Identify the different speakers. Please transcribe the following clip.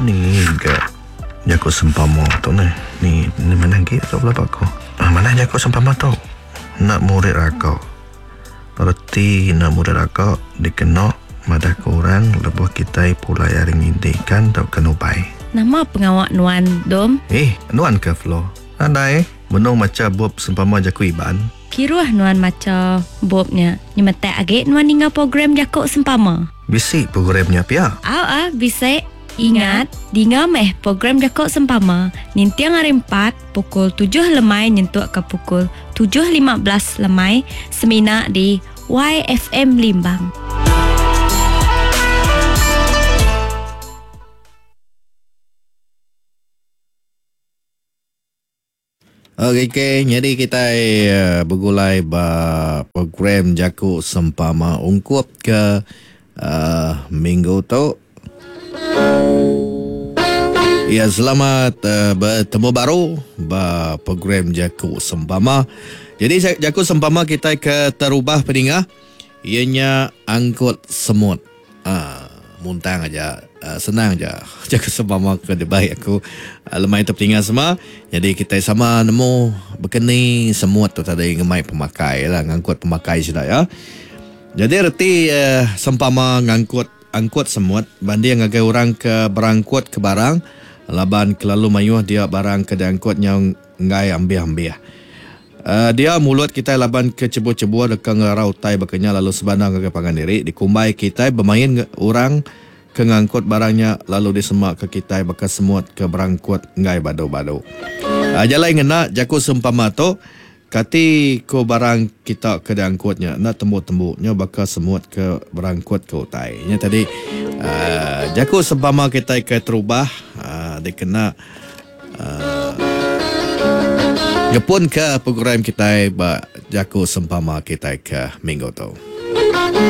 Speaker 1: Ni ga jaku sempama tu neh. Ni ni manah agi tu pelaba aku. Manah jaku sempama tu. Enda murid raka. Reti enda murid raka dikena madahka orang lebuh kitai pulai ari nginti ikan tauka nubai.
Speaker 2: Nama pengawa nuan, Dom?
Speaker 1: Eh, nuan ke Flo? Nadai. Benung macha bup sempama jaku Iban.
Speaker 2: Kiruh nuan macha bup nya. Nyemetak agi nuan ninga program jaku sempama.
Speaker 1: Bisi program nya pia?
Speaker 2: Au ah, bisi. Ingat, dinga meh program jaku sempama ninting hari Empat pukul tujuh lemai nyentukka pukul 7.15 lemai semina di YFM Limbang.
Speaker 3: Okey, okay. Nyadi kitai eh, begulai ba program jaku sempama ungkup ke uh, minggu tu. Ya, selamat uh, bertemu baru ba program jaku sempama. Jadi jaku sempama kitai ke terubah peninga ianya angkut semut. Aa muntang aja senang aja jaku sempama ke dibai aku lemai tu peninga semua. Nyadi kitai sama nemu bekeni semut tu tadi ngemai pemakai lah ngangkut pemakai sida ya. Nyadi reti sempama ngangkut angkut semut banding ngagai orang ke berangkut ke barang laban kelalu mayuh dia barang ke diangkut nyau enggai ambih-ambih. Dia mulut kitai laban ke chebur-chebur deka ngerara utai baka nya lalu sebana ngagai pangan diri. Dikumbai kitai bemain orang ke ngangkut barang nya lalu disemaka kitai baka semut ke berangkut enggai badu-badu. Jalai ngena jaku sempama tu, kati ko barang kita ke diangkut nya enda tembu-tembu nya baka semut ke berangkut ke utai. Nya tadi jaku sempama kitai ke terubah dikena. Ngepun ke program kitai ba jaku sempama kitai ke minggu tu.